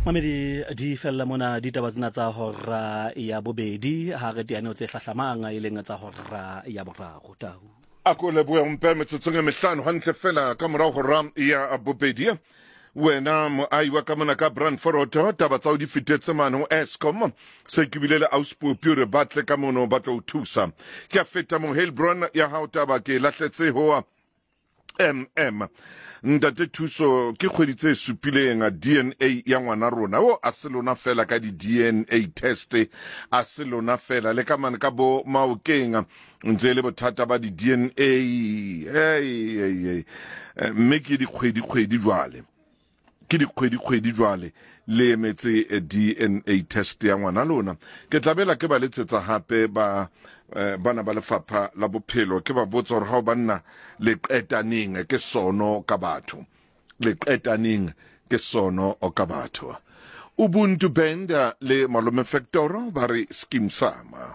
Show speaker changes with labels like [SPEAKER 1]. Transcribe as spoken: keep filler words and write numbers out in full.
[SPEAKER 1] Mamedi di fella mona ditaba tsena tsa hora ya bobedi, ha re teane tse hlahlamang e leng tsa hora ya boraro. Tau.
[SPEAKER 2] A ko lebohe mpe metsotsong e mehlano hantle fela ka morao hora ya bobedi. Wena moahi wa ka mona ka Brandforoto, taba tsa o di fetetse mane ho Eskom, se ke bile le auspopi hore ba tle ka mono ba tlo o thusa. Ke a feta mo Heilbron ya hao, taba ke lahletse ho M M ntate Thuso. Ke kgwedi tse supileng D N A ya ngwana rona o a se lona fela ka di D N A test, a se lona fela le ka mane ka bo Maokeng ntse e le bothata ba di D N A. Hey, hey, hey. Mme ke dikgwedi kgwedi jwale, ke dikgwedi kgwedi jwale le emetse eh, D N A test ya ngwana lona. Ke tlabela ke ba letsetsa hape ba eh, bana ba lefapha la bophelo, ke ba botsa hore ha o banna le qetaneng ke sono ka batho, le qetaneng ke sono o ka batho. Ubuntu Band le Malome Factor ba re Skeem Sama.